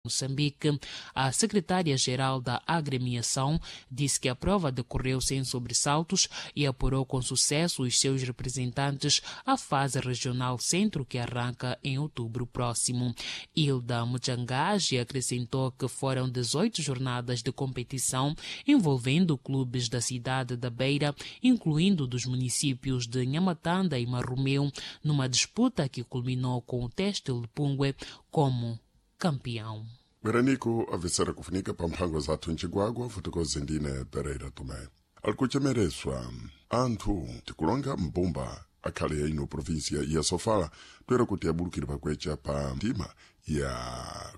Moçambique. A secretária-geral da agremiação disse que a prova decorreu sem sobressaltos e apurou com sucesso os seus representantes à fase regional centro, que arranca em outubro próximo. Hilda Muchangage acrescentou que foram 18 jornadas de competição envolvendo clubes da cidade da Beira, incluindo dos municípios de Nhamatanda e Marromeu, numa disputa que culminou com o Têxtil de Pungue como campeão. Veranico avisera kufunika pa mphango zathu ncigwagwa futukozi ndine Pereira Tomé. Alikuchemereswa anthu tikulonga mbumba akhale ino província ya Sofala toera kuti abulukire pakwecha pa ndima ya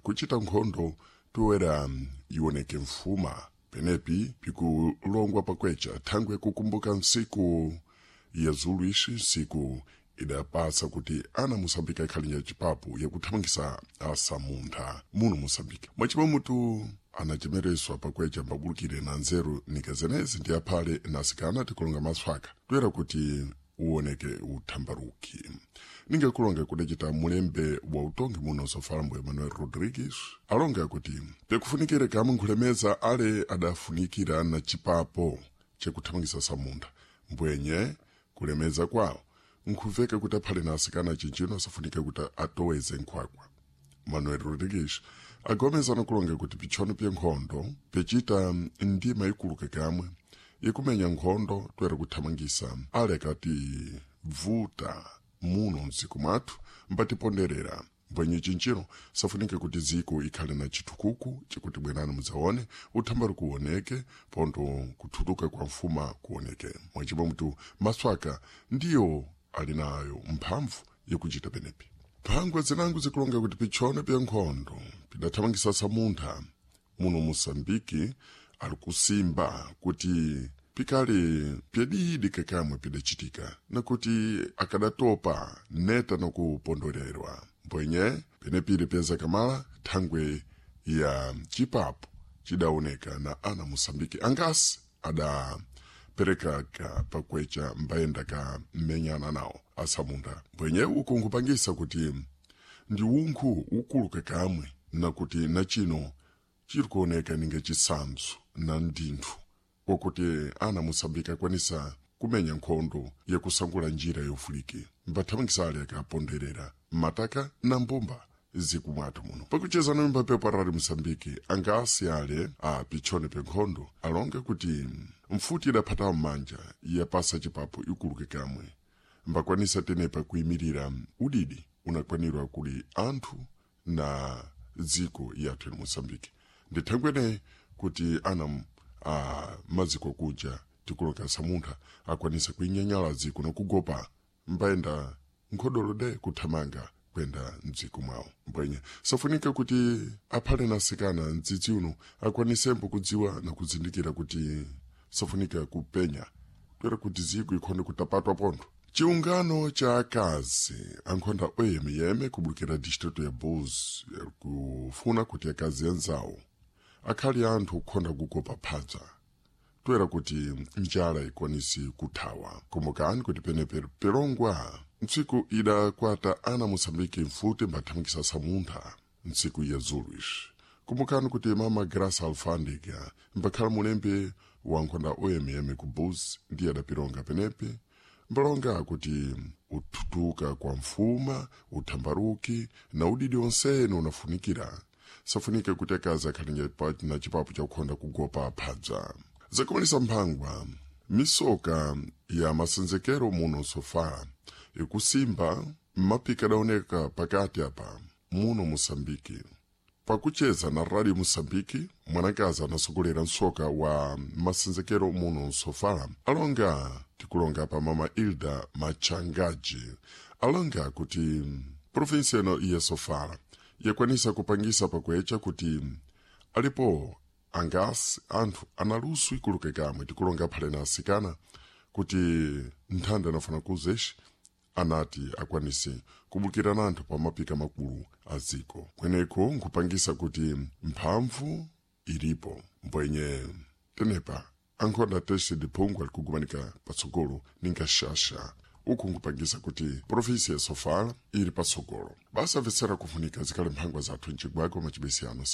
kuchita nkhondo toera ioneke mfuma penepi pikulongwa pakwecha thangwe kukumbuka nsiku ya zulu ixi nsiku idapasa kuti ana Moçambique akhale cipapu yakuthamangisa asamuntha muno Moçambique. Mwacima mutu anachemereswa pakwecha mbabulukire na nzeru nikazenezi ndi aphale nasikana tikulonga maswaka toera kuti uoneke uthambaruki. Ningakulonga kudacita mulembe wa utongi muno Sofala mbu Emmanuel Rodrigues alonga kuti pekufunikire kamwe nkhulemeza ale adafunikira na cipapo cakuthamangisa samuntha mbwenye kulemeza kwawo nkhuveka kuti aphale na asikana cinjino asafunike kuti atoweze nkhwakwa. Manuel Rodrigues agomeza nakulonga kuti pitchono pya nkhondo picita ndima ikuluke kamwe ikumenya nkhondo toera kuthamangisa ale akati bvuta muno mdziko mwathu mbatiponderera mbwenye cinjino safunike kuti dziko ikhale na chitukuku chikuti bwenani mudzaone uthambari kuoneke pondo kuthutuka kwa mfuma kuoneke. Mwachimwa mutu maswaka ndiyo ali nayo mphamvu yakuchita penepi. Mphangwa zinango zikulonga kuti pitchone pya nkhondo pidathamangisa samuntha muno Moçambique ali kusimba kuti pikali pyadidi kakamwe pidacitika nakuti akadatopa neta nakupondolerwa mbwenye penepili pyazakamala thangwe ya cipapo cidaoneka na ana Moçambique angasi adapereka ka pakwecha mbayenda ka mmenyana nawo asamunda mbwenye uku nkupangisa kuti ndi unkhu ukulu kakamwe nakuti nachino chiri kuoneka ninga chisamso na ndinthu kwakuti ana Moçambique akwanisa kumenya nkhondo yakusangula njira yofulike mbathamangisa ale akaponderera mataka na mbumba zikumwathu muno. Pakucheza na mbapepo arali Moçambique angasi ale a pitchone penkhondo alonga kuti mfuti idaphatawo m'manja yapasa cipapo ikuluke kamwe mbakwanisa tenepa kuyimirira udidi unakwanirwa kuli anthu na dziko yathu ya Moçambique. Ndithangwene kuti ana a maziko kuja tikulonga samuntha akwanisa kuinyanyala dziko nakugopa mbayenda nkhodolo de kuthamanga kwenda mdziko mwawo. Mbwenye safunika kuti aphale nasikana mdzidzi uno akwanisembo kudziwa na kuzindikira kuti safunika kupenya toera kuti dziko ikhonde kutapatwa pontho. Chiungano cha akazi ankhonda oyemeyeme kubulukira distrito ya Bulls kufuna kuti akazi anzawo akhali anthu kukhonda kugopa phadza toera kuti njala ikwanisi kuthawa. Kumbukani kuti penepe pelongwa ntsiku idakwata ana Moçambique mfuti mbathamangisa samuntha ntsiku ya zulu ixi. Kumbukani kuti mama Graça Alfândega mbakhala mulembe wa nkhonda oyemeyeme ku Bulls ndiye adapilonga penepe mbalonga kuti uthutuka kwa mfuma uthambaruki na udidi onsene unafunikira safunike kuti akazi akhale na cipapo chakukhonda kugopa phadza. Zakumalisa mphangwa misoka ya masenzekero muno Sofala ikusimba mmapika adaoneka pakati apa muno Moçambique. Pakucheza na Radio Moçambique mwanakazi anasogolera msoka wa masenzekero muno Sofala alonga tikulonga pa mama Hilda Machangaji alonga kuti provinsia ino ya Sofala yakwanisa kupangisa pakwecha kuti alipo angasi anthu analusu ikuluke kamwe tikulonga aphale na asikana kuti nthanda anafuna kuzexi anati akwanise kubukira na anthu pa mapika makulu a dziko kweneko nkupangisa kuti mphamvu ilipo mbwenye tenepa ankhonda tese diphungu alikugumanika patsogolo ninga xaxa uku nkupangisa kuti provinsi ya Sofala ili patsogolo. Basa amvetsera kufunika zikhale mphangwa zathu mcigwagwa macibesi ano.